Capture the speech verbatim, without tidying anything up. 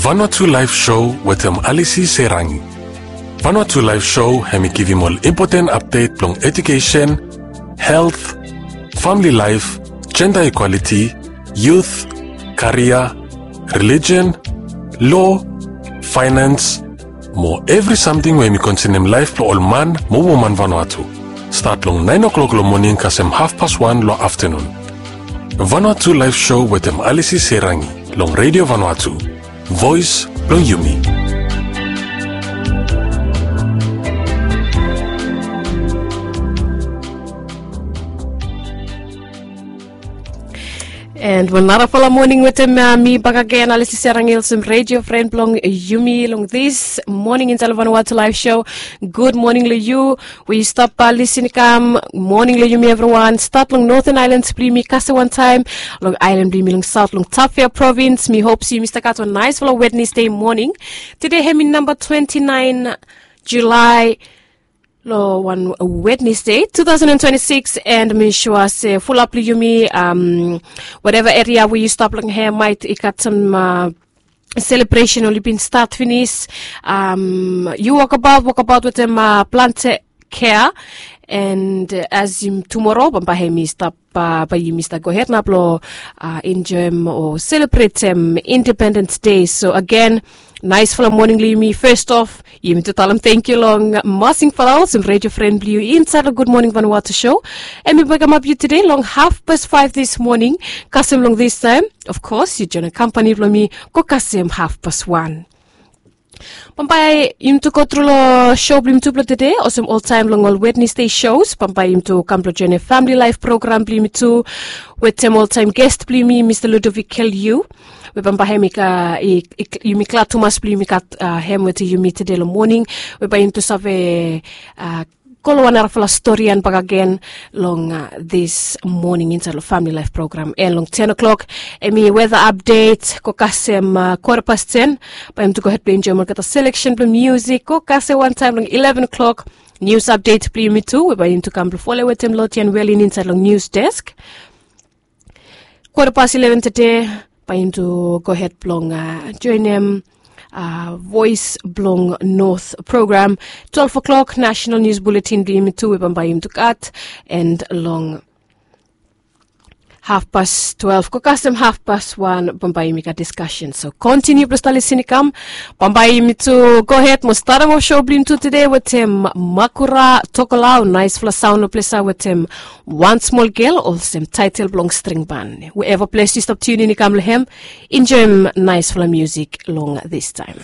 Vanuatu Live Show wetem Alisi Serangi. Vanuatu Live Show hemi givim ol impoten apdet blong edukesen, helt, famili laef, jenda ikwaliti, yut, karia, relijen, lo, faenans, mo evri samting we hemi konsenem laef blong ol man mo woman Vanuatu. Stat long naen o'klok long moning kasem hafpas wan long aftenun. Vanuatu Live Show wetem Alisi Serangi long Redio Vanuatu, voes blong yumi. And wan narafala moning wetem mi bakagen, Alisi Serangi, olsem redio fren blong yumi long this moning insaed long Vanuatu Live Show. Gud moning long yu we yu stap lisin i kam. Moning long yumi evriwan, stat long Northern Islands blong yumi kasem wantaem, long aelan blong yumi long saot long Tafea provins. Mi hop se yumi stap gat wan naesfala Wednesday moning. Tede hemi namba twenti naen Julae, long wan Wednesday two thousand and twenty-six, and mi sua se fulap blong yumi, um, whatever eria we yu stap long hem, maet i gat sam uh, selebresen oli bin stat finis. Um, yu wokabaot, wokabaot wetem uh, plante kea, and uh, as yumi tumoro bambae hemi stap, uh, bae yumi stap gohed nao blong uh, enjoem o selebretem Independence Day. So agen, naesfala moning long yumi. Fes of, yumi tu talem tangkiu long Masing Fala, olsem redio fren blong yu insaed long Gud Moning Vanuatu Show. Hemi wekamap yu tede long hafpas faef this moning. Kasem long this taem, of course, yu joenem kampani blong mi go kasem hafpas wan. Bambae yumi tu go tru long show blong yumi tu blong tede, olsem oltaem long ol Wednesday shows. Bambae yumi tu kam blong joenem famili laef program blong yumi tu wetem oltaem ges blong yumi, Mista Ludovic Kelyu, we bambae hemi ka, i, i, yumi glad tumas blong yumi gat uh, hem wetem yumi tede long moning, we bae yumi tu save uh, go long wan narafala storian bakagen long uh, this moning insaed long famili laef program. And long ten o'clock hemi weta apdet, go kasem uh, kwata pas ten, bae yumi tu gohed blong enjoem olgeta seleksen blong musik. Go kasem wantaem long eleven o'clock, nius apdet blong yumi tu, we bae yumi tu kam blong folem wetem Lotian Welin insaed long nius desk. Kwata pas eleven tede, bae yumi tu gohed blong uh, joenem uh, Voes blong North program. Twelve o'clock, nasenal nius buletin blong yumi tu, we bambae yumi tu gat, and long hafpas twelve go kasem hafpas wan, bambae yumi gat diskasen. So kontiniu blong stap lisin i kam. Bambae yumi tu gohed mo statem of show blong yumi tu tede wetem Makura Tokolau, naesfala saon long ples ya wetem Wan Smol Gel, olsem taetel blong String Ban. Wherever ples yu stap tiunin i kam long hem, enjoem naesfala musik long this taem.